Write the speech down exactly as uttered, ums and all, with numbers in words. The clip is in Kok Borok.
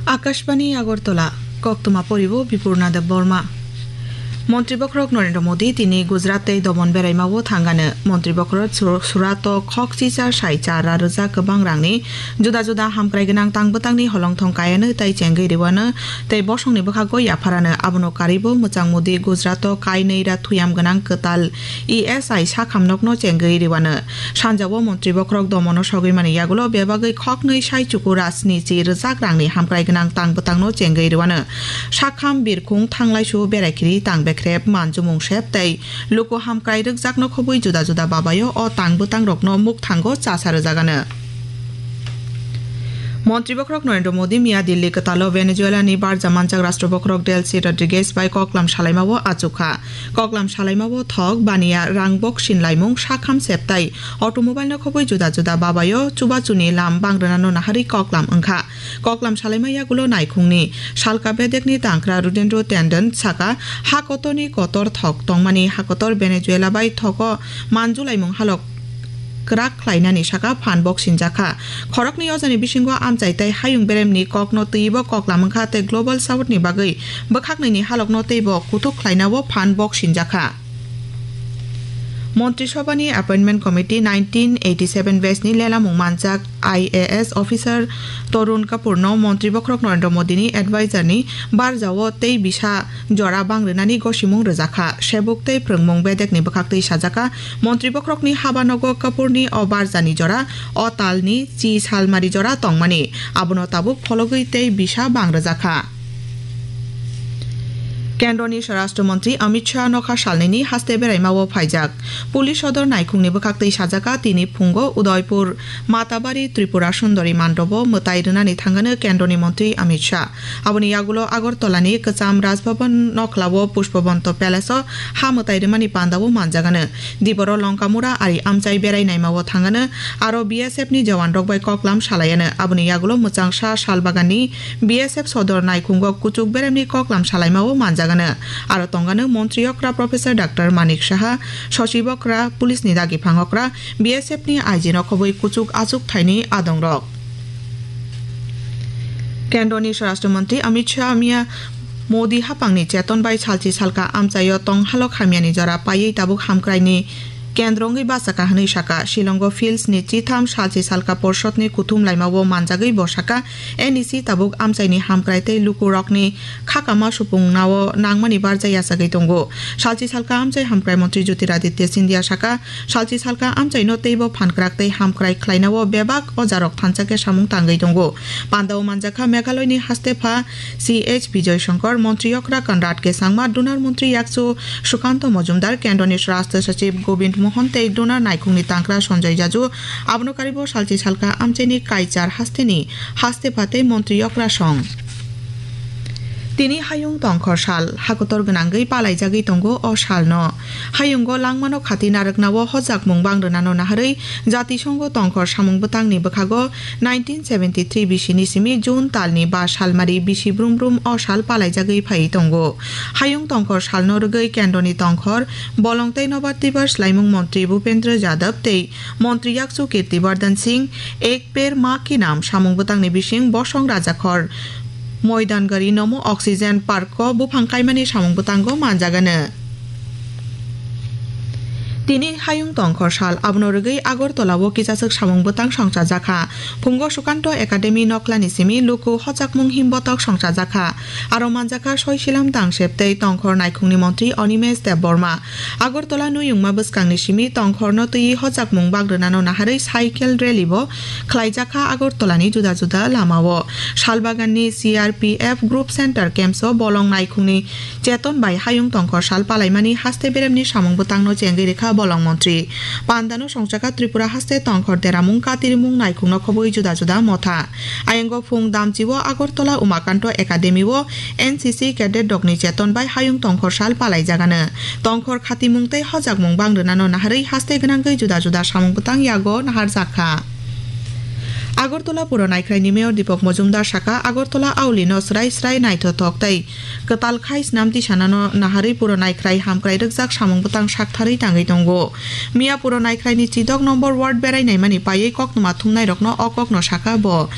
Akashbani Agartala, koktwma poribo Bipurna Debbarma. Montri bokhorok Narendra Modi tini Gujarat tei Domon beraimao thangano. Montri bokhorok Sur-, Surato khokchicha saicha ra rwjak kwbang rangni juda juda hamkrai gwnang tang bwtangni holongthong kayano tei chengwi rwano tei bosongni bwkhago yapharano. Abono karibo mwchang Modi Gujarato kainwi ra thuyam gwnang kwtal E S I sakhamnokno chengwi rwano. Sanjao montri bokhorok Domono sogwi mani yagulo bebagwi khoknwi sai chuku ra snichi rwjak rangni hamkrai gwnang tang bwtangno chengwi rwano. Sakham, birkhung, thanglaisu, beraikhiri, tang bekrep, manjumung sep tei luku hamkrai rwkjakno khobwi juda juda babaio o tang bwtangrokno mukthango chasa rwjagano. Montri bokhorok Narendra Modi miya Delhi kwtalo Venezuela ni barja manjak rashtra bokhorok Delcy Rodriguez bai koklam salaimao achukha. Koklam salaimao thok, baniya, rang boksin laimung, sakham septai, automobile no khobwi juda juda babaio chubachuni lam bang rwnano naharwi koklam wngkha. Koklam salaima yagulo naikhungni salka bedekni tangkra Rudendro Tandon saka, ha kotorni kotor thok tongmani, ha kotor Venezuela bai thogo manjulaimung halok kwrak khlainani saka phan bok sinjakha. Khoroknwi ojani bisingo amchai tei hayung beremni kokno twibo koklam wngkha tei Global South ni bagwi bwkhaknwini halokno teibo kuthuk khlainao phan bok sinjakha. Montri Sobhani Appointment Committee nineteen eighty seven batch ni lelamung manjak I A S officer Tarun Kapoor no Montri bokhorok Narendra Modi ni advisor ni barjao tei bisa jora bang rwnani gosimung rwjakha. Sebuk tei phrwngmung bedekni bwkhaktwi sajaka, Montri bokhorokni habanogo Kapoorni o barjani jora, o talni chi salmari jora tongmani, abono tabuk phologwi tei bisa bang rwjakha. Kendroni Swarashtra Montri Amit Shah nokha salnini haste beraimao phaijak. Police sodor naikhungni bwkhaktwi sajaka, tini phungo Udaipur Matabari Tripura Sundori Mandobo mwtai rwnani thangano Kendroni Montri Amit Shah. Aboni yagulo Agartalani kwcham Raj Bhavan nokhlao Pushpabanta Palace-o ha mwtai rwmani pandao manjagano. Diboro Lonkamura ari amchai berai naimao thangano, aro B S F ni jawan rok bai koklam salaiano. Aboni yagulo mwchangsa Salbaganni B S F sodor naikhungo kuchuk beremni koklam salaimao manjagano. Aro tongano montri okra Professor Doctor Manik Saha, sochibo okra, police ni dagi phang okra, B S F ni I G no khobwi kuchuk achuk thaini adongrok. Kendroni Swarashtra Montri Amit Shah miya Modi hapangni cheton bai salchi salka amchaio tong halok hamyani jora paiwi tabuk hamkraini kendro wngwi bachakha hwnwi saka. Shillongo Fields ni chitham salchi salka porshotni kuthum laimao manjagwi bo saka, N E C tabuk amchaini hamkrai tei lukurokni khakama supungnao nangmani barja yachagwi tongo. Salchi salka amchai hamkrai montri Jyotiraditya Scindia saka, salchi salka amchaino teibo phankrak tei hamkrai khlainao bebak ojarok thansa khe samung tangwi tongo. Pandao manjakha Meghalaya ni hastepha C H Bijoy Shankar, montri okra Conrad K Sangma, donar montri yakchu Sukanta Majumdar, kendroni Rashtra Sachiv Govind Mohan tei donar naikhungni tangkra Sanjay Jaju. Abono karibo salchi salka amchaini Kaichar hasteni hastepha tei montri okra song. Tini hayung tongkhor sal, hakotor gwnangwi palaijagwi tongo o salno. Hayungo langmano khati narwknao hojakmung bang rwnano naharwi Jatisongo tongkhor samung bwtangni bwkhago nineteen seventy three bisini simi June talni ba salmari bisi brum brum o sal palaijagwi phaiwi tongo. Hayung tongkhor salno rwgwi kendroni tongkhor, bolong tei nobar twibar swlaimung montri Bhupendra Yadav tei montri yakchu Kirti Vardhan Singh Ek Ped Maa Ki Naam samung bwtangni bising bosong rajakhor Moidan Gari Nomo Oxygen Park-o buphang kaimani samung bwtango manjagano. Tini hayung tongkhor sal, abono rwgwi Agartala-o kisaswk samung bwtang songchajakha. Phungo Sukanto Academy nokhlani simi luku hojakmung himbotok songchajakha. Aro manjakha Soisilam Tangsep tei tongkhor naikhungni montri Animesh Debbarma. Agartala nuyungma bwskangni simi tongkhorno twiwi hojakmung bang rwnano naharwi cycle rally bo khlaijakha Agartalani juda juda lamao. Salbaganni C R P F Group Center Camps-o bolong naikhungni cheton bai hayung tongkhor sal palaimani haste beremni samung bwtangno chengwi rwkha bolong montri. Pandano songchakha Tripura haste tongkhor deramung, katirimung naikhungno khobwi juda juda motha. Ayango phung damchio Agartala Umakanto Academy-o N C C cadet rokni cheton bai hayung tongkhor sal palaijagano. Tongkhor khatimung tei hojakmung bang rwnano naharwi haste gwnangwi juda juda samung bwtang yago naharjakha. Agartala Puro Naikhraini Mayor Deepak Majumdar saka, Agartala aulino srai srai naithothok tei kwtal khai snam tisanano naharwi Puro Naikhrai hamkrai rwkjak samung bwtang saktharwi tangwi tongo. Miya Puro Naikhraini chidok nombor ward berai naimani paiwi koktwma thumnairokno o kokno saka bo.